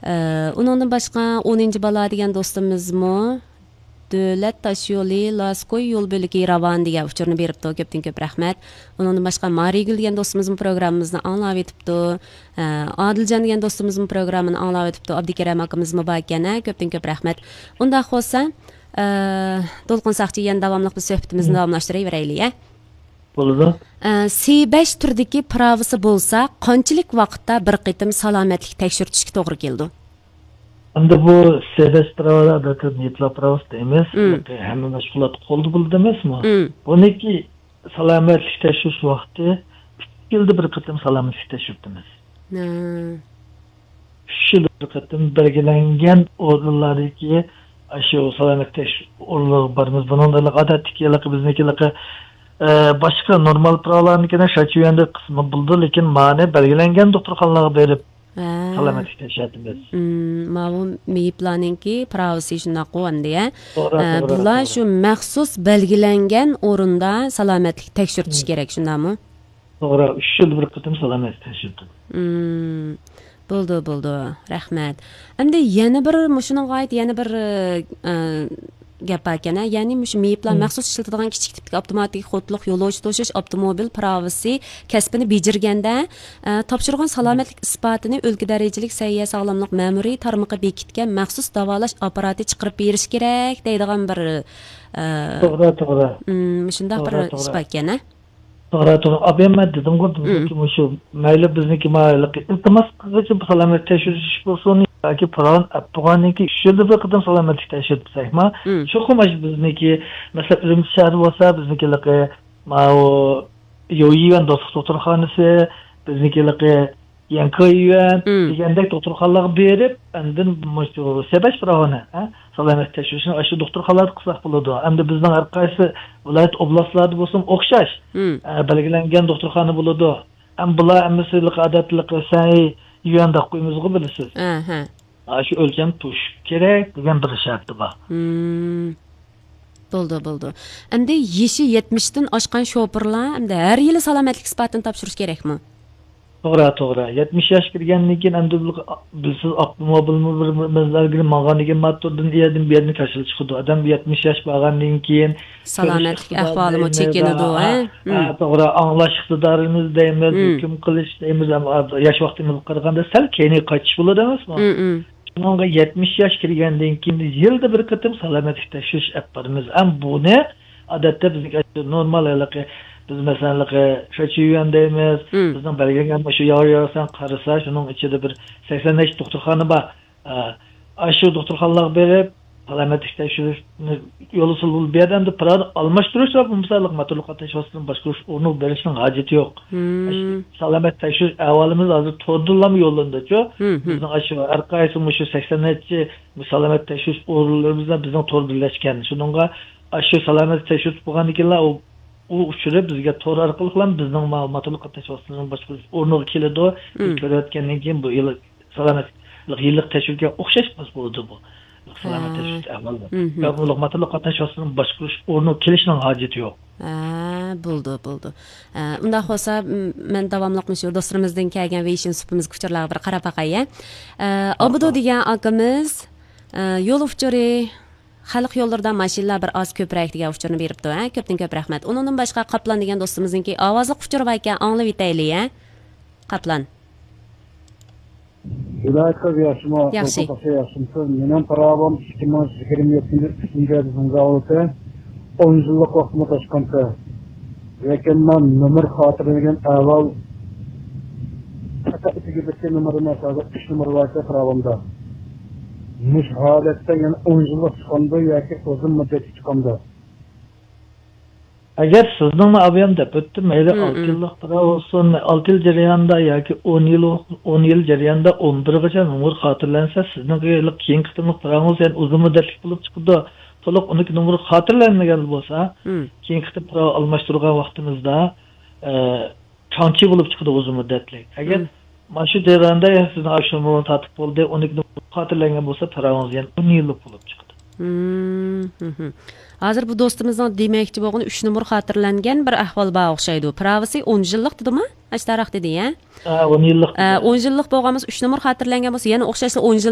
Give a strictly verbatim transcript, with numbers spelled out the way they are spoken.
ئە، ئۇنىڭدىن باشقا ئونىنچى بالا دېگەن دوستىمىزمۇ دۆلەت تاشيولى لاسكوي يول بۆلىكى راۋان دېگەن ئۇچۇرنى بېرىپتۇ. كۆپتىن كۆپ رەھمەت. ئۇنىڭدىن باشقا مارىگۈل دېگەن دوستىمىزمۇ پروگراممىمىزنى ئاڭلاۋېتىپتۇ. ئە، ئادىلجان دېگەن دوستىمىزمۇ پروگراممىنى ئاڭلاۋېتىپتۇ. ئابدۇكېرەم ئاكىمىزمۇ باركەن، ھە، كۆپتىن كۆپ رەھمەت. ئۇنداق بولسا، ئە، دولقۇن ساقچى يەنە داۋاملىق بىز سۆھبىتىمىزنى داۋاملاشتۇرۇۋېرەيلى، ھە؟ بولىدۇ. ئە، سى بەش تۈردىكى پىراۋىسى بولسا قانچىلىك ۋاقىتتا بىر قېتىم سالامەتلىك تەكشۈرتۈشكە توغرا كېلىدۇ؟ ئەمدى بۇ سى بەش پىراۋا، ئادەتتە مېيىپلار پىراۋىسى دەيمىز. مم. ھەممە مەشغۇلات قولدا بولىدۇ ئەمەسمۇ؟ مم. بۇنىڭكى سالامەتلىك تەكشۈرۈش ۋاقتى ئۈچ يىلدا بىر قېتىم سالامەتلىك تەكشۈرتىمىز. ھە. ئۈچ يىلدا بىر قېتىم بەلگىلەنگەن ئورۇنلاردىكى ئاشۇ سالامەتلىك تەكشۈرۈش ئورۇنلىرىغا بارىمىز. بۇنىڭدا ئادەتتىكى بىزنىڭكى، ئە، باشقا نورمال پىراۋىلارنىڭكىنى شاچيۈەندە قىسمى بولىدۇ، لېكىن مانى بەلگىلەنگەن دوختۇرخانىلارغا بېرىپ ھە. سالامەتلىك تەكشۈرتىمىز. مم، ماۋۇ مېيىپلارنىڭكى پىراۋىسى شۇنداققۇ ئەمدى، ھە؟ توغرا، ئە، توغرا، بۇلار توغرا. شۇ مەخسۇس بەلگىلەنگەن ئورۇندا سالامەتلىك تەكشۈرتۈش مم. كېرەك، شۇنداقمۇ؟ توغرا، ئۈچ يىلدا بىر قېتىم سالامەتلىك تەكشۈرتىمىز. مم. بولدى، بولدى. رەھمەت. ئەمدى يەنە بىر، مۇشۇنىڭغا ئائىت يەنە بىر، ئە، گەپ باركەن، ھە؟ يەنى مۇشۇ مېيىپلار مم. مەخسۇس ئىشلىتىدىغان كىچىك تىپتىكى ئاپتوماتىك قۇتلۇق يولۇچى توشۇش ئاپتوموبىل پىراۋىسى كەسپىنى بېجىرگەندە، ئە، تاپشۇرغان سالامەتلىك ئىسپاتىنى ئۆلكە دەرىجىلىك سەھىيە ساغلاملىق مەمۇرىي تارمىقى بېكىتكەن مەخسۇس داۋالاش ئاپپاراتى چىقىرىپ بېرىش كېرەك دەيدىغان بىر، ئە، توغرا، توغرا. مم، مۇشۇنداق بىر توغرا، توغرا. ئىسپات ئىكەن، ھە؟ توغرا، توغرا. ئابىيەممەت دېدىمغۇ، بىزنىڭكى مم. مۇشۇ، مەيلى بىزنىڭكى مايىللىق ئىلتىماس قىلغۇچى بۇ سالامەتلىك تەكشۈرتۈش بولسۇن ياكى پىراۋىنى ئەپ بولغاندىن كېيىن ئۈچ يىلدا بىر قېتىم سالامەتلىك تەكشۈرتسەكمۇ، مم. چوقۇم مۇشۇ بىزنىڭكى، مەسىلەن، ئۈرۈمچى شەھىرى بولسا، بىزنىڭكى ماۋۇ يويۈەن دوستلۇق دوختۇرخانىسى، بىزنىڭكى يەنكويۈەن مم. دېگەندەك دوختۇرخانىلارغا بېرىپ، ئاندىن مۇشۇ سەبەش پىراۋىنى، ھە، سالامەتلىك تەكشۈرۈشنى ئاشۇ دوختۇرخانىلاردا قىلساق بولىدۇ. ئەمدى بىزنىڭ ھەر قايسى ۋىلايەت، ئوبلاستلاردا بولسۇن ئوخشاش، مم. ئە، بەلگىلەنگەن دوختۇرخانا بولىدۇ. ئەمما بۇلار ھەممىسى ئادەتتىكى سەي يۈەن دەپ قويىمىزغۇ، بىلىسىز. ئەھە. ئاشۇ ئۆلچەم توشۇش كېرەك دېگەن بىر شەرتى بار. مم. بولدى، بولدى. ئەمدى يېشى يەتمىشتىن ئاشقان شوپۇرلار ئەمدى ھەر يىلى سالامەتلىك ئىسپاتىنى تاپشۇرۇش كېرەكمۇ؟ توغرا، توغرا. يەتمىش ياش كىرگەندىن كېيىن ئەمدى بۇ، بىلسىز، ئاپتوموبىلمۇ بىر، بىر مەزگىل ماڭغاندىن كېيىن موتوردىن ئۇ يەردىن بۇ يەردىن كاچىلىق چىقىدۇ. ئادەم يەتمىش ياش بارغاندىن كېيىن سالامەتلىك كۆرۈش ئىقتىدارى ئەھۋالىمۇ دەيمىز، چېكىنىدۇ، ھە؟ ھە، ھە، مم. توغرا، ئاڭلاش ئىقتىدارىمىز دەيمىز، مم. ھۆكۈم قىلىش دەيمىز، ئەمما ياش ۋاقتىمىزغا قارىغاندا سەل كەينىگە قايتىش بولىدۇ ئەمەسمۇ؟ مم، مم. شۇنىڭغا يەتمىش ياش كىرگەندىن كېيىن يىلدا بىر قېتىم سالامەتلىك تەكشۈرۈش ئەپ بارىمىز. ئەم بۇنى ئادەتتە بىزنىڭ نورمال ھېلىقى، بىز مەسىلەن ھېلىقى شاچيۈەن دەيمىز، مم. بىزنىڭ بەلگىلەنگەن مۇشۇ ياۋر ياۋرسان قارىسا، شۇنىڭ ئىچىدە بىر سەكسەن نەچچە دوختۇرخانا بار. ئە، ئاشۇ دوختۇرخانىلارغا بېرىپ، سالامەتلىك تەكشۈرۈشنى يولى سۇلۇل بۇ يەردە ئەمدى پىراۋىنى ئالماشتۇرۇش ۋە بۇ مىساللىق موتورلۇق قاتناش ۋاسىتىسىنى باشقۇرۇش ئورنىغا بېرىشنىڭ ھاجىتى يوق. مم. ئاشۇ سالامەت تەكشۈرۈش ئەھۋالىمىز ھازىر توردىنلام يوللىنىدۇچۇ. مم، مم. بىزنىڭ ئاشۇ ھەر قايسى مۇشۇ سەكسەن نەچچە سالامەت تەكشۈرۈش ئورۇنلىرىمىز بىلەن بىزنىڭ تور بىرلەشكەن. شۇنىڭغا ئاشۇ سالامەت تەكشۈرتۈپ بولغاندىن كېيىنلا ئۇ، ئۇ ئۇچۇرى بىزگە تور ئارقىلىقلا بىزنىڭ ما-، موتورلۇق قاتناش ۋاسىتىلىرىنىڭ باشقۇرۇش ئورنىغا كېلىدۇ. بىز مم. كۆرۈۋەتكەندىن كېيىن بۇ يىل سالامەتلىك يىللىق تەكشۈرگەن ئوخشاش بولىدۇ بۇ. سالامەت ھە. تەكشۈرۈش ئەھۋالى. مم. يا بۇ موتورلۇق قاتناش ۋاسىتىلىرىنىڭ باشقۇرۇش ئورنىغا كېلىشنىڭ ھاجىتى يوق. ھە، بولدى، بولدى. ئە، ئۇنداق بولسا، م-، مەن داۋاملىق مۇشۇ دوستلىرىمىزدىن كەلگەن ۋېيشىن سۇپىمىزغا ئۇچۇرلارغا بىر قاراپ باقاي، ھە. ئە، ھە، ئابدۇ ھە. دېگەن ئاكىمىز، ئە، يول ئۇچۇرى، خەلق يوللىرىدا ماشىنىلار بىر ئاز كۆپرەك دېگەن ئۇچۇرنى بېرىپتۇ، ھە. كۆپتىن كۆپ رەھمەت. ئۇنىڭدىن باشقا قاپلان دېگەن دوستىمىزنىڭكى ئاۋازلىق ئۇچۇرى بار ئىكەن، ئاڭلىۋېتەيلى، ھە. قاپلان. ھىدايەت قىز، ياخشىمۇ؟ ياخشى. ياخشىمۇسىز؟ مېنىڭ پىراۋام ئىككى مىڭ يىگىرمە يەتتىنچى يىل ئۈچىنچى ئايدا ئىمزا بولدى. ئون يىللىق ۋاقتىمۇ توشقانتى. لېكىن مەن نومۇر خاتىرىلىگەن ئەھۋال پەقەت ئىچىگە بىتكەن نومۇرىمۇ ھازىر ئۈچ نومۇر بار ئىكەن پىراۋامدا. مۇشۇ ھالەتتە يەنە ئون يىللىق چىقامدۇ ياكى ئۇزۇن مۇددەتلىك چىقامدۇ؟ ئەگەر سىزنىڭمۇ ئابىيام دەپ ئۆتتۈم، مەيلى مم، ئالتە مم. يىللىق پىراۋا بولسۇن، ئالتە يىل جەريانىدا ياكى ئون يىل، ئون يىل جەريانىدا ئون بىرگىچە نومۇر خاتىرىلەنسە، سىزنىڭ ھېلىقى كېيىنكى قېتىملىق پىراۋىڭىز يەنە ئۇزۇن مۇددەتلىك بولۇپ چىقىدۇ. تولۇق ئۇنىڭكى نومۇر خاتىرىلەنمىگەن بولسا، مم. كېيىنكى قېتىم پىراۋا ئالماشتۇرغان ۋاقتىمىزدا، ئە، چاڭچى بولۇپ چىقىدۇ ئۇزۇن مۇددەتلىك. ئەگەر مم. مانا شۇ جەرياندا سىزنىڭ ئاشۇ نومۇرنى تارتىپ بولدى، ئۇنىڭكى نومۇر خاتىرىلەنگەن بولسا، پىراۋىڭىز يەنە ئون يىللىق بولۇپ چىقىدۇ. مم، مم. ھازىر بۇ دوستىمىزنىڭ دېمەكچى بولغىنى ئۈچ نومۇر خاتىرىلەنگەن بىر ئەھۋال بار ئوخشايدۇ. پىراۋىسى ئون يىللىق دېدىما؟ ئاشتاراق دېدى، يە؟ ھە، ئون يىللىق ئە، دېدى. ئون يىللىق بولغان بولسا، ئۈچ نومۇر خاتىرىلەنگەن بولسا، يەنە ئوخشاشلا ئون يىل